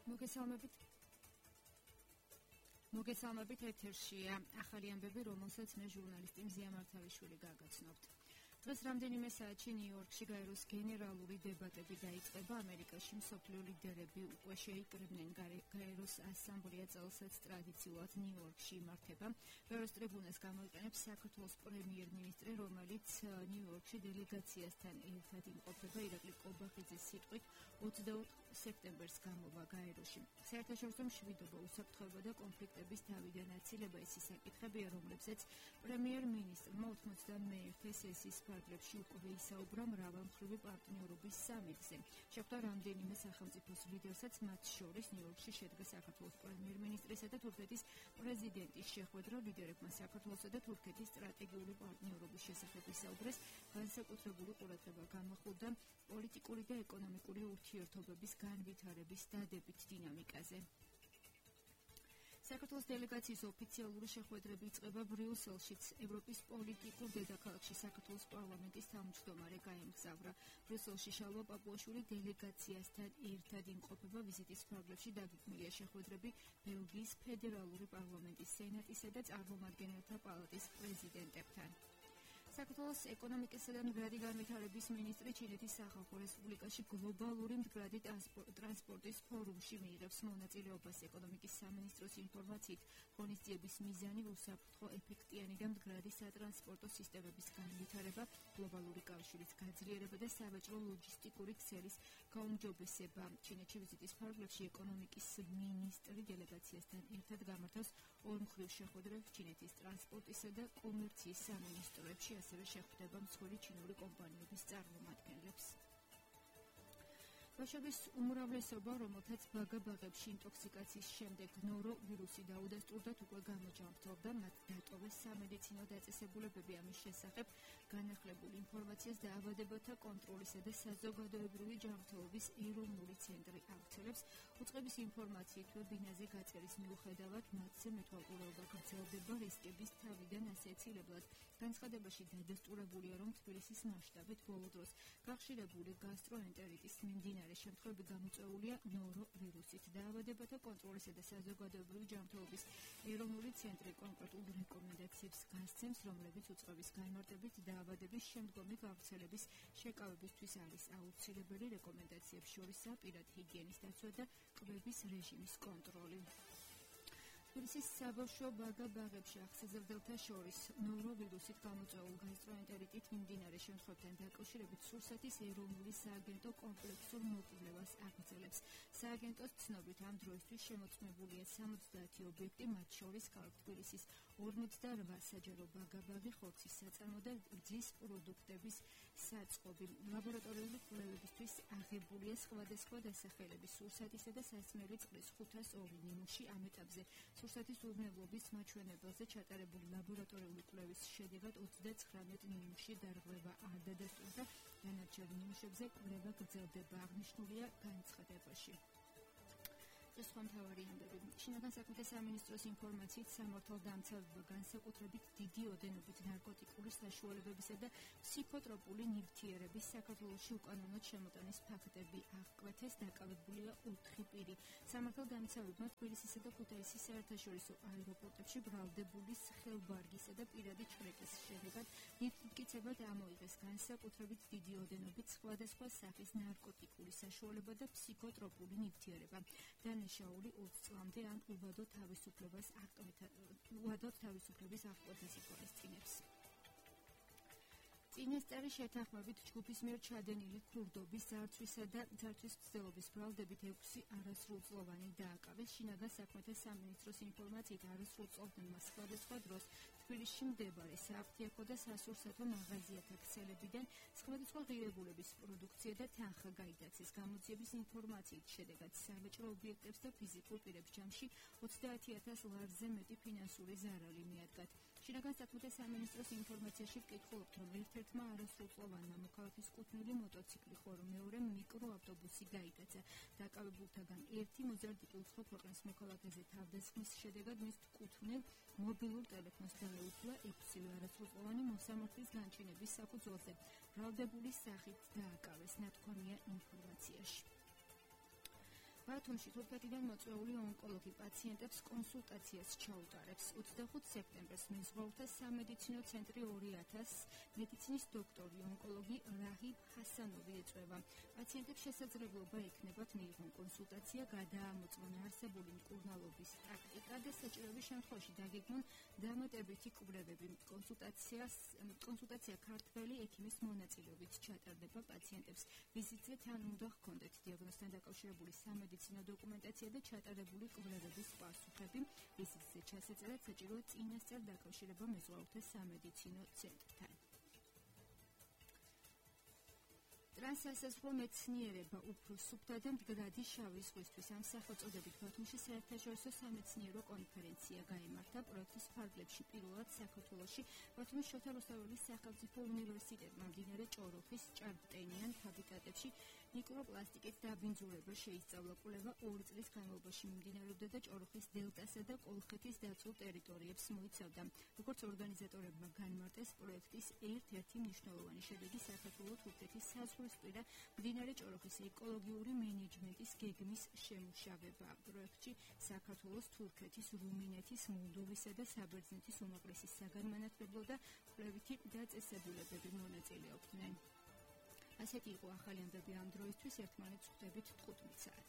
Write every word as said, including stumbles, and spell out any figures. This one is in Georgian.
მოგესალმებით. მოგესალმებით ეთერშია ახალი ამბები, რომელსაც მე ჟურნალისტი მზია მართავიშვილი გაგაცნობთ. დღეს რამდენიმე საათში ნიუ-იორკში გაეროს გენერალური დებატები დაიწყება. ამერიკაში მსოფლიო ლიდერები უკვე შეიკრიბნენ გაეროს ასამბლეა წელსაც ტრადიციულად ნიუ-იორკში იმართება. გაეროს ტრიბუნას გამოიყენებს საქართველოს პრემიერ-მინისტრი, რომელიც ნიუ-იორკში დელეგაციასთან ერთად იმყოფება. ირაკლი კობახიძის სიტყვით ოცდაოთხ სექტემბერს გამოვა გაეროში. საერთაშორისო მშვიდობა, უსაფრთხოება და კონფლიქტების თავიდან აცილება ის საკითხებია, რომლებზეც პრემიერ-მინისტრმა ოცდამეერთე სესიის ფარგლებში უკვე ისაუბრა მრავალმხრივი პარტნიორობის სამიტზე. შეხვდა რამდენიმე სახელმწიფოს ლიდერსაც, მათ შორის ნიუ-იორკში შედგა საქართველოს პრემიერ-მინისტრისა და თურქეთის პრეზიდენტის შეხვედრა. ლიდერებმა საქართველოსა და თურქეთის სტრატეგიული პარტნიორობის შესახებ ისაუბრეს. განსაკუთრებული ყურადღება გამახვილდა პოლიტიკური და ეკონომიკური ურთიერთობების განვითარების დადებით დინამიკაზე. საქართველოს დელეგაციის ოფიციალური შეხვედრები იწყება ბრიუსელშიც. ევროპის პოლიტიკურ დედაქალაქში საქართველოს პარლამენტის თავმჯდომარე გაემგზავრა. ბრიუსელში შალვა პაპუაშვილი დელეგაციასთან ერთად იმყოფება. ვიზიტის ფარგლებში დაგიქმნილია შეხვედრები ბელგიის ფედერალური პარლამენტის სენატისა და წარმომადგენელთა პალატის პრეზიდენტებთან. საქართველოს ეკონომიკისა და მდგრადი განვითარების მინისტრი ჩინეთის სახალხო რესპუბლიკაში გლობალური მდგრადი ტრანსპორტის ფორუმში მიიღებს მონაწილეობას. ეკონომიკის სამინისტროს ინფორმაციით, ღონისძიების მიზანი უსაფრთხო, ეფექტიანი და მდგრადი სატრანსპორტო სისტემების განვითარება, გლობალური კავშირის გაძლიერება და სავაჭრო ლოჯისტიკური ქსელის გაუმჯობესება. ჩინეთში ვიზიტის ფარგლებში ეკონომიკის მინისტრი დელეგაციასთან ერთად გამართავს ორმხრივ შეხვედრებს ჩინეთის ტრანსპორტისა და კომერციის სამინისტროებში. ასევე შეხვდება მსხვილი ჩინური კომპანიების წარმომადგენლებს. ბავშვების უმრავლესობა, რომელთაც ბაგა-ბაღებში ინტოქსიკაციის შემდეგ ნორო ვირუსი დაუდასტურდათ, უკვე გამოჯანმრთელდა. მათ დატოვეს სამედიცინო დაწესებულებები. ამის შესახებ განახლებულ ინფორმაციას დაავადებათა კონტროლისა და საზოგადოებრივი ჯანმრთელობის ეროვნული ცენტრი ავრცელებს. უწყების ინფორმაციით, ვებინარზე გაწერის მიუხედავად, მათზე მეთვალყურეობა გრძელდება რისკების თავიდან ასეცილებლად. განცხადებაში დადასტურებულია, რომ თბილისის მასშტაბით ბოლო დროს გახშირებული გასტროენტერიტის მიმდინარე შემთხვევები გამოწვეულია ნორო ვირუსით. დაავადებათა კონტროლისა და საზოგადოებრივი ჯანმრთელობის ეროვნული ცენტრი კონკრეტულ რეკომენდაციებს გასცემს, რომლებიც უწყების განმარტებით დაავადების შემდგომი გავრცელების შეკავებისთვის არის აუცილებელი. რეკომენდაციებს შორისაა პირად ჰიგიენის დაცვა და კვების რეჟიმის კონტროლი. თბილისის საბავშვო ბაგა-ბაღებში ახსეზებელთა შორის ნორო-ვირუსით გამოწვეულ გასტროენტერიტით მიმდინარე შემთხვევებთან დაკავშირებით სურსათის ეროვნული სააგენტო კომპლექსურ მოკვლევას აგრძელებს. სააგენტოს ცნობით, ამ დროისთვის შემოწმებულია სამოცდაათი ობიექტი, მათ შორის ქალაქ თბილისის ორმოცდარვა საჯარო ბაგა-ბაღი, ხორცის საწარმო და რძის პროდუქტების საწყობი. ლაბორატორიული კვლევებისთვის აღებულია სხვადასხვა დასახელების სურსათისა და სასმელი წყლის ხუთას ორი ნიმუში. ამ ეტაპზე სურსათის უვნებლობის მაჩვენებელზე ჩატარებული ლაბორატორიული კვლევის შედეგად ოცდაცხრამეტ ნიმუში დარღვევა არ დადასტურდა. დანარჩენ ნიმუშებზე კვლევა გრძელდება. აღნიშნულია განცხადებაში. სხვა მთავარი ამბები. შინაგან საქმეთა სამინისტროს ინფორმაციით, სამართალდამცავება განსაკუთრებით დიდი ოდენობით ნარკოტიკული საშუალებებისა და ფსიქოტროპული ნივთიერების საქართველოში უკანონოდ შემოტანის ფაქტები აღკვეთეს. დაკავებულია ოთხი პირი. სამართალდამცავებმა თბილისისა და ქუთაისის საერთაშორისო აეროპორტებში ბრალდებული ხელბარგისა და პირადი ჩრეკის შედეგად ნივთმტკიცებად ამოიღეს განსაკუთრებით დიდი ოდენობით სხვადასხვა სახის ნარკოტიკული საშუალება და ფსიქოტროპული ნივთიერება. შაული ოცი წლამდე ან უბადო თავისუფლებას უბადო თავისუფლების აღკვეთას ითვალისწინებს. წინასწარი შეთანხმებით ჯგუფის მიერ ჩადენილი ქურდობის ძარცვისა და ძარცვის მცდელობის ბრალდებით ექვსი არასრულწლოვანი დააკავეს. შინაგან საქმეთა სამინისტროს ინფორმაციით, არასრულწლოვანმა სხვადასხვა დროს თბილისში მდებარე საფთიაქო და სასურსათო მაღაზიათა ქსელებიდან სხვადასხვა ღირებულების პროდუქცია და თანხა გაიტაცეს. გამოძიების ინფორმაციით, შედეგად სავაჭრო ობიექტებს და ფიზიკურ პირებს ჯამში ოცდაათი ათას ლარზე მეტი ფინანსური ზარალი მიადგათ. შინაგან საქმეთა სამინისტროს ინფორმაციაში ვკითხულობთ, რომ ერთ-ერთმა არასრულწლოვანმა მოქალაქის კუთვნილი მოტოციკლი ხო რომ მეორე მიკროავტობუსი გაიტაცა. დაკავებულთაგან ერთი მოზარდ უცხო ქვეყნის მოქალაქეზე თავდასხმის შედეგად მის კუთვნილ მობილურ ტელეფონს დაეუფლა ექვსივე არასრულწლოვანი მოსამართლის განჩინების საფუძველზე. ბრალდებული სახით დააკავეს, ნათქვამია ინფორმაციაში. ბათუმში თურქეთიდან მოწვეული ონკოლოგი პაციენტებს კონსულტაციას ჩაუტარებს. ოცდახუთი სექტემბერს მეზღვაურთა სამედიცინო ცენტრი ორი ათას მედიცინის დოქტორი ონკოლოგი რაჰიბ ჰასანოვი ეწვევა. პაციენტებს შესაძლებლობა ექნებათ მიიღონ კონსულტაცია, გადაამოწმონ არსებული მკურნალობის ტაქტიკა და საჭიროების შემთხვევაში დაგეგმონ დამატებითი კვლევები. კონსულტაციას კონსულტაცია ქართველი ექიმის მონაწილეობით ჩატარდება. პაციენტებს ვიზიტზე თან უნდა ჰქონდეთ დიაგნოზთან დაკავშირებული სამედიცინო დოკუმენტაცია და ჩატარებული კვლევების პასუხები. ვიზიტზე ჩასაწერად საჭიროა წინასწარ დაკავშირება მეზღვაურთა სამედიცინო ცენტრთან. ტრანსსაზღვრო მეცნიერება უფრო სუფთა და მდგრადი შავი ზღვისთვის ამ სახელწოდებით ბათუმში საერთაშორისო სამეცნიერო კონფერენცია გაიმართა. პროექტის ფარგლებში პირველად საქართველოში ბათუმის შოთა რუსთაველის სახელმწიფო უნივერსიტეტმა მდინარე ჭოროხის ჭარბტენიან ჰაბიტატებში მიკროპლასტიკის დაბინძურება შეისწავლა. კვლევა ორი წლის განმავლობაში მიმდინარეობდა და ჭოროხის დელტასა და კოლხეთის დაცულ ტერიტორიებს მოიცავდა. როგორც ორგანიზატორებმა განმარტეს, პროექტის ერთ-ერთი მნიშვნელოვანი შედეგი საქართველოს თურქეთის საზღვრისპირა მდინარე ჭოროხის ეკოლოგიური მენეჯმენტის გეგმის შემუშავება. პროექტში საქართველოს, თურქეთის, რუმინეთის, მოლდოვისა და საბერძნეთის უმაღლესი საგანმანათლებლო და კვლევითი დაწესებულებები მონაწილეობდნენ. ასეთი იყო ახალი ამბები ამ დროისთვის. ერთმანეთს ხვდებით თხუთმეტ საათს.